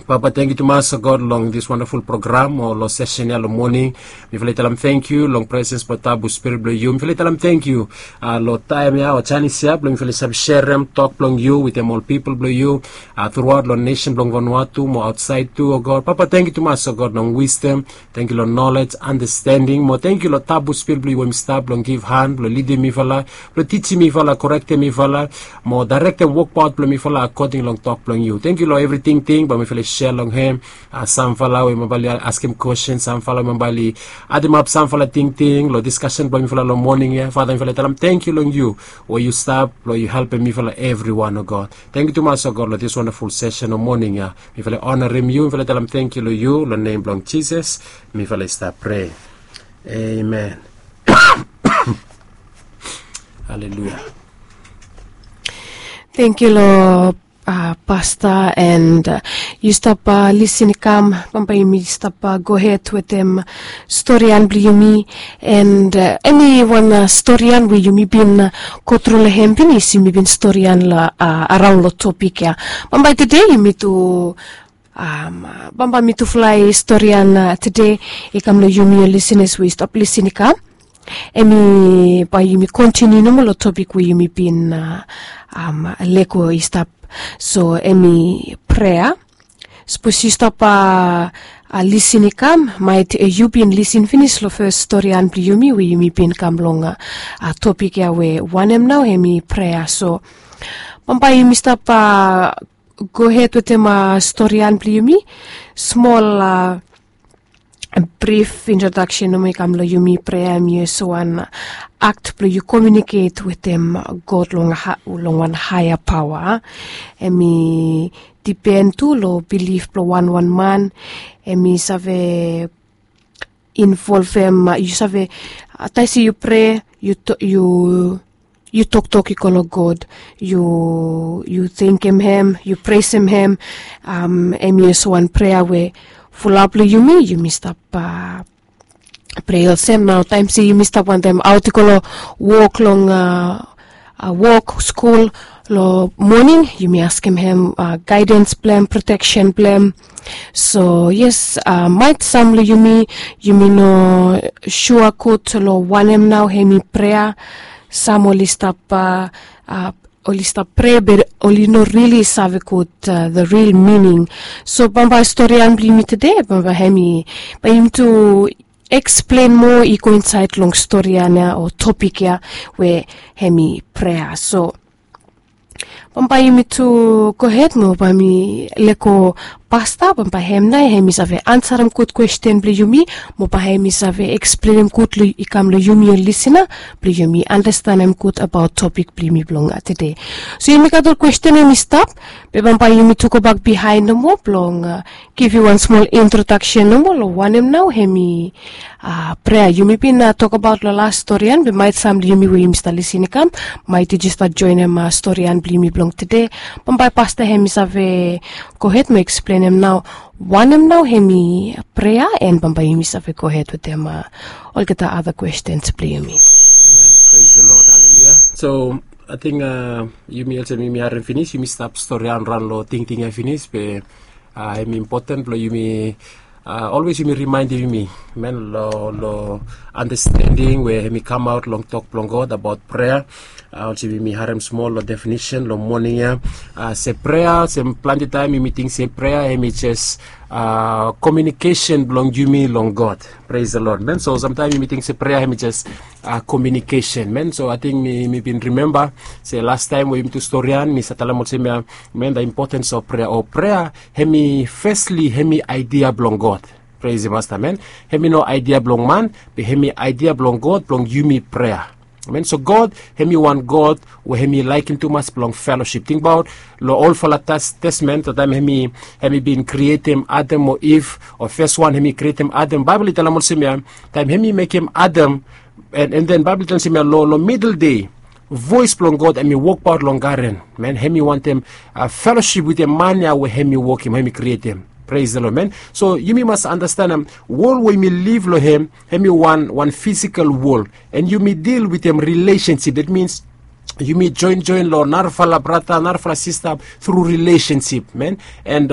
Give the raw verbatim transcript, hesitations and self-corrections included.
Papa, tengkiu tumas, o God, long this wonderful program o long sesen ya long moning. Mifala i talam tengkiu long presens blong tabu spirit blong yu. Mifala i talam tengkiu long taem ya o janis ya blong mifala i save serem tok blong yu wetem ol pipol blong yu truaot long nesen blong Vanuatu mo aotsaed tu, o God. Papa, tengkiu tumas, o God, long wisdom. Tengkiu long nolej, andastending mo tengkiu long tabu spirit blong yu we mi stap blong givhan blong lidim mifala, blong tijim mifala, korektem mifala, mo daerektem wokbaot blong mifala akoding long tok blong yu. Tengkiu long evri tingting bae mifala i sea long hem. Samfala we mifala i askem kwestin, samfala we mifala i ademap samfala tingting long diskasen blong mifala long moning ya. Fada, mifala i talam tengkiu long yu we yu stap blong yu helpem mifala evriwan, o God. Tengkiu tumas, o God, long this wonderful sesen o moning ya. Mifala i onarem yu, mifala i talam tengkiu long yu long nem blong Jisas. Mifala i stap prea. Amen. Haleluia. Tengkiu long pasta, and yu stap lisin i kam, bambae yumi stap gohed wetem storian blong yumi. And eniwan storian we yumi bin go tru long hem finis, yumi bin storian araon long topik ya. Bambae tede yumi tu bambae mitufala i storian tede i kam long yumi ol lisinas we i stap lisin i kam. Hemi bae yumi kontiniu nomo long topik we yumi bin lego i stap. So hemi prea. Sapos yu stap lisin i kam, maet yu bin lisin finis long fes storian blong yumi we yumi bin kam long topik ya we wanem nao hemi prea. So bambae yumi stap gohed wetem storian blong yumi. Smol brif introdaksen nomo i kam long yumi. Prea hemi olsem wan akt blong yu komiuniket wetem God long wan haea paoa. Hemi dipen tu long bilif blong wanwan man. Hemi save involvem yu save, taem se yu prea, yu toktok i go long God. Yu tengkem hem, yu presem hem. Hemi olsem wan prea we fulap long yumi, yumi stap prea olsem. Nao taem se yumi stap wantem aot i go long wok long wok, skul, long moning, yumi askem hem gaedens blong hem, proteksen blong hem. So yes, maet sam long yumi, yumi no sua gud long wanem nao hemi prea. Sam oli stap oli stap prea be oli no rili save gud the ril mining. So bambae storian blong yumi tede bambae hemi, bae yumi tu eksplen moa i go insaed long storian ya o topik ya we hemi prea. So bambae yumi tu gohed mo bae mi lego pasta, bambae hem nao hemi save ansarem gud kwesten blong yumi, mo bae hemi save eksplenem gud i kam long yumi ol lisina, blong yumi andastanem gud abaot topik blong yumi blong tede. So yumi gat ol kwesten hemi stap, be bambae yumi tu gobak bihaen nomo blong givim wan smol introdaksen nomo long wanem nao hemi prea. Yumi bin tokbaot long las storian, be maet sam blong yumi we yumi stap lisin i kam, maet yu jes stap joenem storian blong yumi blong tede. Bambae pasta hemi save gohed mo eksplenem nao wanem nao hemi prea, and bambae yumi save gohed wetem olgeta ada kwestens blong yumi. Amen. Praise the Lord. Haleluia. So ating yumi olsem yumi harem finis, yumi stap storian raon long tingting ya finis, be hemi impoten blong yumi olwes yumi rimaenem yumi, men, long andastending we hemi kamaot long tok blong God abaot prea. Olsem yumi harem smol long definisen long moning ya, se prea, se plante taem yumi ting se prea hemi jes komiunikesen blong yumi long God. Praise the Lord, men. So samtaem yumi ting se prea hemi jes komiunikesen, men. So ating mi bin rimemba se lastaem we yumi tu storian, mi save talem olsem ya, men, the importance of prayer o prea hemi fesli hemi aedia blong God. Praise the Master, men. Hemi no aedia blong man, be hemi aedia blong God blong yumi prea. Men, so God hemi wan God we hemi laekem tumas blong felosip. Tingbaot long olfala testamen, taem hemi bin krietem Adam o Iv, o fes wan hemi krietem Adam, Baebol i talem olsem ya, taem hemi mekem Adam, and then Baebol i talem olsem ya, long midel dei voes blong God hemi wokbaot long garen. Men, hemi wantem felosip wetem man ya we hemi wokem, hemi krietem. Praise the Lord, men. So yumi mas andastanem wol we yumi liv long hem, hemi wan, wan fisikal wol, and yumi dil wetem rilesensip. That means yumi joen joen long narafala brata, narafala sista tru rilesensip, men. And